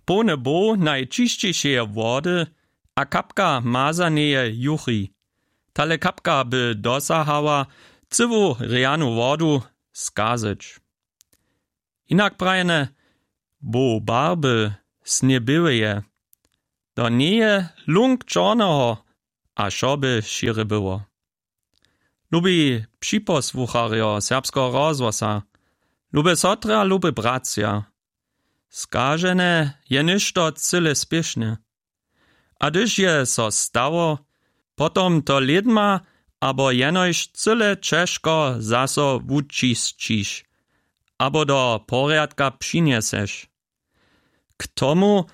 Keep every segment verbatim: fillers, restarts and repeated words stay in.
połny bow najćišćejšeje wody a kapka mazaneje juchi. Tale kapka by dosahała cyłu rjanu wodu skazać. Hinak prajene, bow barby snjeběłeje, do njeje lunk čorneho a wšo by šěry było. Lubi připosłucharjo Serbskeho rozhłosa, lube sotry a luby bratřa, skažene je něšto cyle spěšne. A hdyž je so stało, potom to lědma abo jenož cyle ćežko zaso wučisćiš abo do porjadka přinjeseš. K tomu,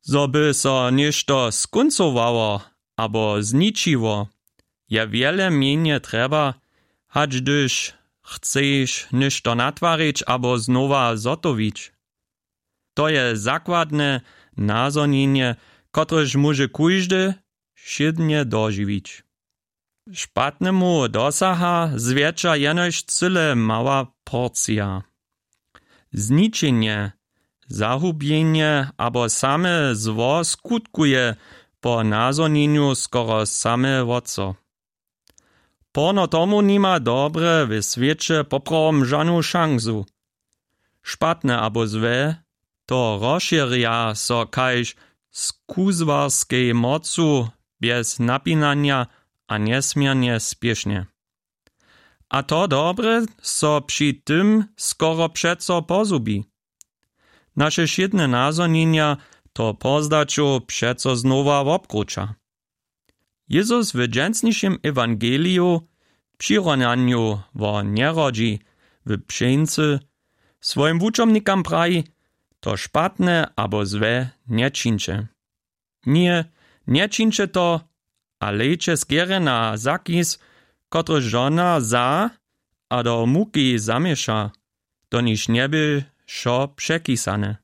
zo by so něšto skóncowało abo zničiło, je wjele mjenje trjeba, hač hdyž chceš něšto natwarić abo znowa zhotowić. To je zakładne nazhonjenje, kotrež móže kóždy wšědnje dožiwić. Špatnemu dosaha zwjetša jenož cyle mała porcija. Zničenje, zahubjenje abo same zło skutkuje po nazhonjenju skoro same wot so. Porno tomu nima dobre w swěće poprawom žanu šansu. Špatne abo złe to rozšěrja so kaž z kuzłarskej mocu bjez napinanja a njesměrnje spěšnje. A to dobre so při tym skoro přeco pozhubi. Naše wšědne nazhonjenja to pozdaćow přeco znowa wobkruća. Jezus w dźensnišim ewangeliju w přirunanju wo njerodźi w pšeńcy swojim wučomnikam praji: „To špatne abo złe nječińće. Ně, nječińće to, a lejće skerje na Zakis, kotryž žona za a do muki zaměša, do niž njebě wšo překisane.“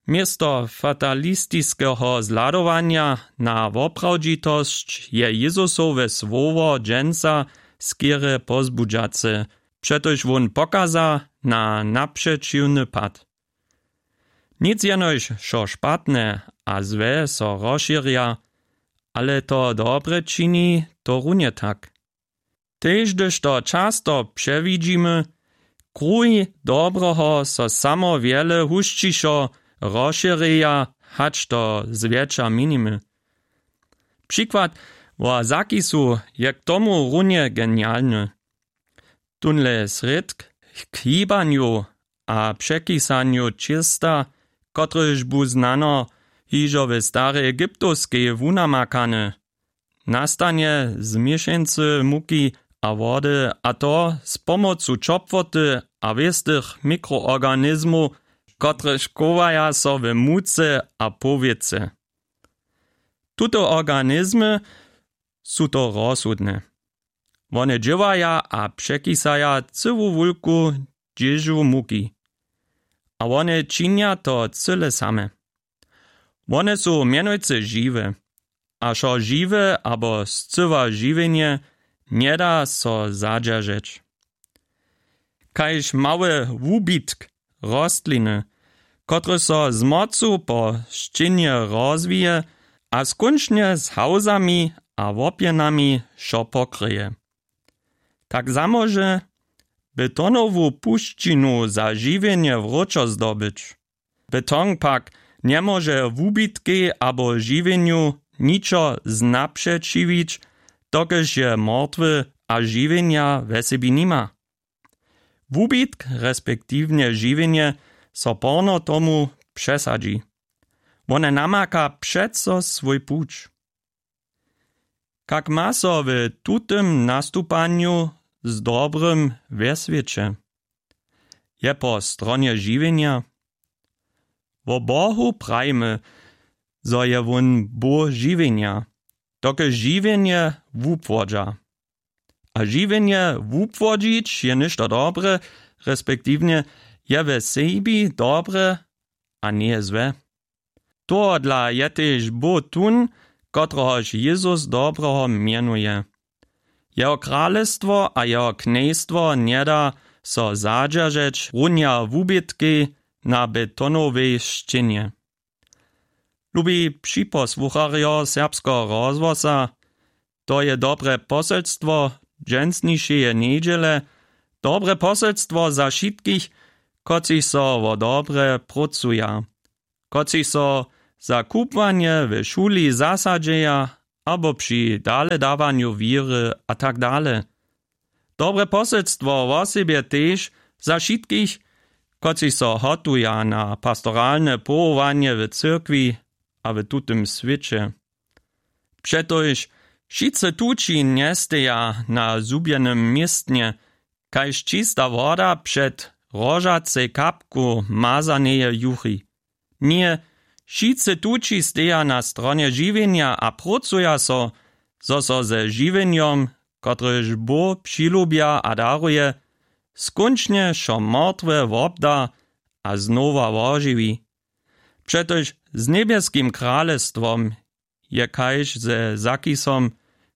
Město fatalistiskeho zhladowanja na woprawdźitosć je Jezusowe słowo dźensa skerje pozbudźace, přetož wón pokaza na napřećiwny pad. Nic jenož wšo špatne a złe so rozšěrja, ale to dobre čini to runje tak. Tež hdyž to často přewidźimy, kruhi dobreho so samo wjele husćišo rozšěrjeja, hač to zwjetša měnimy. Přikład wo Zakisu je k tomu runje genialny. Tónle srědk k hibanju a překisanju ćěsta, kotryž bu znano hižo w starej egyptowskej wunamakany, nastanje z měšeńcy muki a wody, a to z pomocu ćopłoty a wěstych mikroorganizmow, kotrež chowaja so w muce a powětře. Tute organizmy su to rozsudne. Wone dźěłaja a překisaja cyłu wulku dźěžu muki. A wone činja to cyle same. Wone su mjenujcy žiwe, a wšo žiwe abo scyła žiwjenje njeda so zadźeržeć. Kaž mały wubitk rostliny, kotryž so z mocu po šćěnje rozwije a skónčnje z hałzami a łopjenami wšo pokryje. Tak zamóže betonowu pušćinu za žiwjenje wróćo zdobyć. Beton pak njemóže wubitkej abo žiwjenju ničo znapřećiwić, dokelž je mortwy a žiwjenja we sebi nima. Wubitk, respektiwnje žiwjenje, so porno tomu přesadźi. Wone namaka přeco swój puć. Kak ma so w tutym nastupanju z dobrym we swěće? Je po stronje žiwjenja? Wo Bohu prajimy, zo je wón Bóh žiwjenja, dokelž žiwjenje wupłodźa. A žiwjenje wupłodźić je něšto dobre, respektiwnje je we sebi dobre a njeje złe. Tohodla je tež Bóh tón, kotrehož Jezus dobreho mjenuje. Jeho kralestwo a jeho knjejstwo njeda so zadźeržeć runja wubětkej, na betonowej sćěnje. Lubi připosłucharjo serbskeho rozhłosa, to je dobre poselstwo dźensnišeje njedźele, dobre poselstwo za wšitkich, kotřiž so wo dobre prócuja, kotřiž so za kubłanje w šuli zasadźeja abo při daledawanju wěry a tak dale. Dobre poselstwo wosebje tež za wšitkich, kotřiž so hotuja na pastoralne powołanje w cyrkwi a w tutym swěće. Přetož wšitcy tući njesteja na zhubjenym městnje, kaž čista woda před rožacej kapku mazaneje juchi. Ně, wšitcy tući steja na stronje žiwjenja a prócuja so, zo so ze žiwjenjom, kotrež Bóh přilubja a daruje, skónčnje wšo mortwe wobda a znowa wožiwi. Přetož z njebjeskim kralestwom je kaž ze zakisom,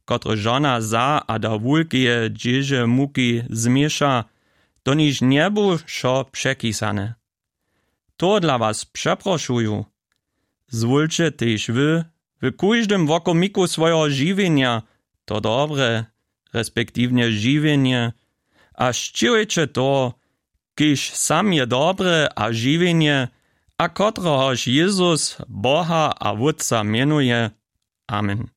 kotryž žona za a da wulkeje dźěže muki změša, do niž njebu wšo překisane. Tohodla was přeprošuju, zwólće tež wy w kóždym wokomiku swojeho žiwjenja to dobre, respektiwnje žiwjenje, a sćěhujće toho, kiž sam je dobre a žiwjenje, a kotrehož Jezus Boha a Wótca mjenuje. Amen.